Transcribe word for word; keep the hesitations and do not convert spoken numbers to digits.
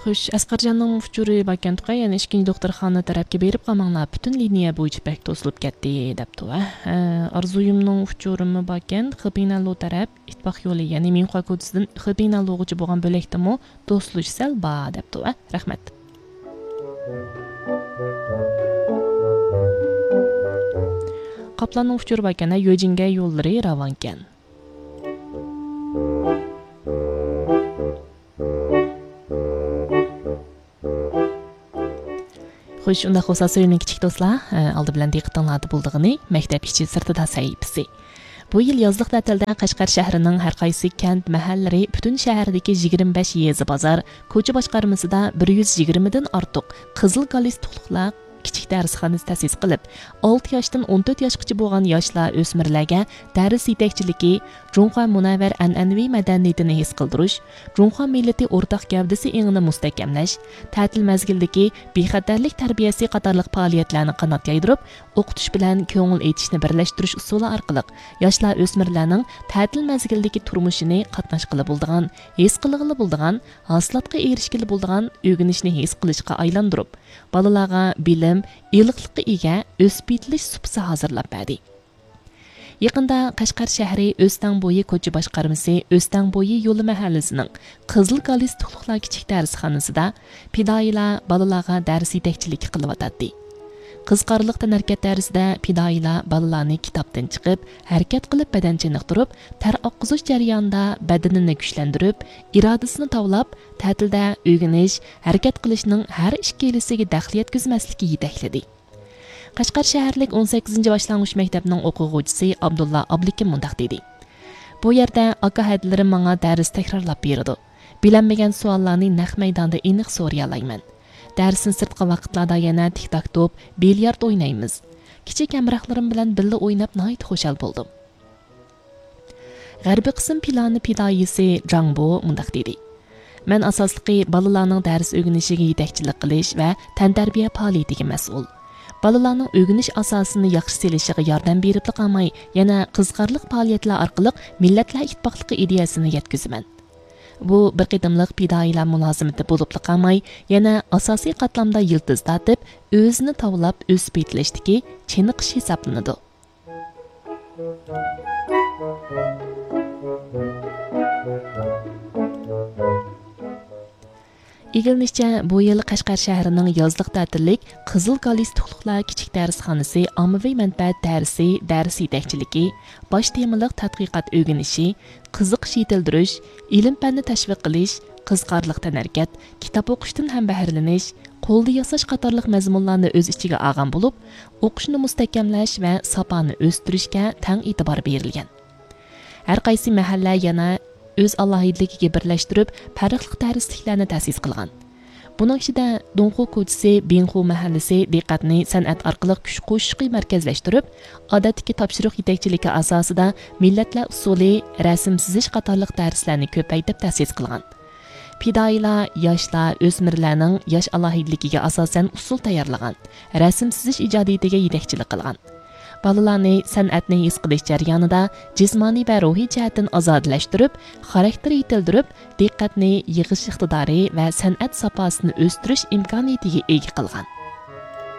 خوش، ئەسقەرجاننىڭ ئۇچۇرى باركەنتۇقە، يەنە ئىككىنچى دوختۇرخانا تەرەپكە بېرىپ قالماڭلار، پۈتۈن لىنىيە بويىچە بەك توسۇلۇپ كەتتى، دەپتۇ. ھە، ئارزۇيۇمنىڭ ئۇچۇرىمۇ باركەن، خېبىنەلو تەرەپ ئىتتىپاق يولى، يەنى مىنخۇا كوچىسىدىن خېبىنەلوغىچە بولغان بۆلەكتىمۇ توسۇلۇش سەل بار، دەپتۇ. ھە، رەھمەت. قاپلاننىڭ ئۇچۇرى باركەن، ھە، يۆجىنگەي يوللىرى راۋانكەن. خوش، ئۇنداق بولسا، سۆيۈملۈك كىچىك دوستلار، ئالدى بىلەن دىققىتىڭلاردا بولىدىغىنى مەكتەپ ئىچى سىرتىدا سەھىپىسى. بۇ يىل يازلىق تەتىلدە قەشقەر شەھىرىنىڭ ھەر قايسى كەنت، مەھەللىلىرى، پۈتۈن شەھەردىكى يىگىرمە بەش يېزا، بازار، كوچا باشقارمىسىدا بىر يۈز يىگىرمىدىن ئارتۇق قىزىل گالىستۇكلۇق كىچىك دەرسخانىسى تەسىس قىلىپ، ئالتە ياشتىن ئون تۆت ياشقىچە بولغان ياشلار، ئۆسمۈرلەرگە دەرس يېتەكچىلىكى، جۇڭخۇا مۇنەۋۋەر ئەنئەنىۋى مەدەنىيىتىنى ھېس قىلدۇرۇش، جۇڭخۇا مىللىتى ئورتاق گەۋدىسى ئېڭىنى مۇستەھكەملەش، تەتىل مەزگىلىدىكى بىخەتەرلىك تەربىيەسى قاتارلىق پائالىيەتلەرنى قانات يايدۇرۇپ، ئوقۇتۇش بىلەن كۆڭۈل ئېچىشنى بىرلەشتۈرۈش ئۇسۇلى ئارقىلىق ياشلار، ئۆسمۈرلەرنىڭ تەتىل مەزگىلىدىكى تۇرمۇشىنى قاتناشقىلى بولىدىغان، ھېس قىلغىلى بولىدىغان، ھاسىلاتقا ئېرىشكىلى بولىدىغان ئۆگىنىشنى ھېس قىلىشقا ئايلاندۇرۇپ، بالىلارغا بىلىم، ئىلىقلىققا ئىگە، ئۆسۈپ يېتىلىش سۇپىسى ھازىرلاپ بەردى. يېقىندا قەشقەر شەھىرى ئۆستەڭ بويى كوچا باشقارمىسى ئۆستەڭ بويى يولى مەھەللىسىنىڭ قىزىل گالىستۇكلۇقلار كىچىك دەرسخانىسىدا پىدائىيلار بالىلارغا دەرس يېتەكچىلىكى قىلىۋاتاتتى. قىزىقارلىق تەنھەرىكەت دەرسىدە پىدائىيلار بالىلارنى كىتابتىن چىقىپ، ھەرىكەت قىلىپ بەدەن چېنىقتۇرۇپ، تەر ئاققۇزۇش جەريانىدا بەدىنىنى كۈچلەندۈرۈپ، ئىرادىسىنى تاۋلاپ، تەتىلدە ئۆگىنىش، ھەرىكەت قىلىشنىڭ ھەر ئىككىلىسىگە دەخلى يەتكۈزمەسلىككە يېتەكلىدى. قەشقەر شەھەرلىك ئون سەككىزىنچى باشلانغۇچ مەكتەپنىڭ ئوقۇغۇچىسى ئابدۇللا ئابلىكىم مۇنداق دېدى: بۇ يەردە ئاكا ھەدىلىرىم ماڭا دەرس تەكرارلاپ بېرىدۇ. بىلەلمىگەن سوئاللارنى نەق مەيداندا ئېنىق سورىيالايمەن. دەرستىن سىرتقى ۋاقىتلاردا يەنە تىك تاك توپ، بىليارد ئوينايمىز. كىچىك ھەمراھلىرىم بىلەن بىللە ئويناپ ناھايىتى خۇشال بولدۇم. غەربىي قىسىم پىلانى پىدائىيسى جاڭ بو مۇنداق دېدى: مەن ئاساسلىقى بالىلارنىڭ دەرس ئۆگىنىشىگە يېتەكچىلىك قىلىش ۋە تەنتەربىيە پائالىيىتىگە مەسئۇل. بالىلارنىڭ ئۆگىنىش ئاساسىنى ياخشى سېلىشىغا ياردەم بېرىپلا قالماي، يەنە قىزىقارلىق پائالىيەتلەر ئارقىلىق مىللەتلەر ئىتتىپاقلىقى ئىدىيەسىنى يەتكۈزىمەن. بۇ بىر قېتىملىق پىدائىيلار مۇلازىمىتى بولۇپلا قالماي، يەنە ئاساسىي قاتلامدا يىلتىز تارتىپ، ئۆزىنى تاۋلاپ ئۆسۈپ يېتىلىشتىكى چېنىقىش ھېسابلىنىدۇ. ئىگىلىنىشىچە، بۇ يىل قەشقەر شەھىرىنىڭ يازلىق تەتىللىك قىزىل گالىستۇكلۇقلار كىچىك دەرسخانىسى ئاممىۋى مەنپەئەت دەرسى، دەرس يېتەكچىلىكى، باش تېمىلىق تەتقىقات ئۆگىنىشى، قىزىقىش يېتىلدۈرۈش، ئىلىم-پەننى تەشۋىق قىلىش، قىزىقارلىق تەنھەرىكەت، كىتاب ئوقۇشتىن ھەمبەھىرلىنىش، قولدا ياساش قاتارلىق مەزمۇنلارنى ئۆز ئىچىگە ئالغان بولۇپ، ئوقۇشنى مۇستەھكەملەش ۋە ساپانى ئۆستۈرۈشكە تەڭ ئېتىبار بېرىلگەن. ھەر قايسى مەھەللە يەنە ئۆز ئالاھىدىلىكىگە بىرلەشتۈرۈپ، پەرقلىق دەرسلىكلەرنى تەسىس قىلغان. بۇنىڭ ئىچىدە دۇڭخۇ كوچىسى، بىڭخۇ مەھەللىسى دىققەتنى سەنئەت ئارقىلىق كۈچ قوشۇشقا مەركەزلەشتۈرۈپ، ئادەتتىكى تاپشۇرۇق يېتەكچىلىكى ئاساسىدا مىللەتلەر ئۇسسۇلى، رەسىم سىزىش قاتارلىق دەرسلەرنى كۆپەيتىپ تەسىس قىلغان. پىدائىيلار ياشلار، ئۆسمۈرلەرنىڭ ياش ئالاھىدىلىكىگە ئاساسەن ئۇسسۇل تەييارلىغان، رەسىم سىزىش ئىجادىيىتىگە يېتەكچىلىك قىلغان. بالىلارنى سەنئەتنى ھېس قىلىش جەريانىدا جىسمانىي ۋە روھىي جەھەتتىن ئازادىلەشتۈرۈپ، خاراكتېر يېتىلدۈرۈپ، دىققەتنى يىغىش ئىقتىدارى ۋە سەنئەت ساپاسىنى ئۆستۈرۈش ئىمكانىيىتىگە ئىگە قىلغان.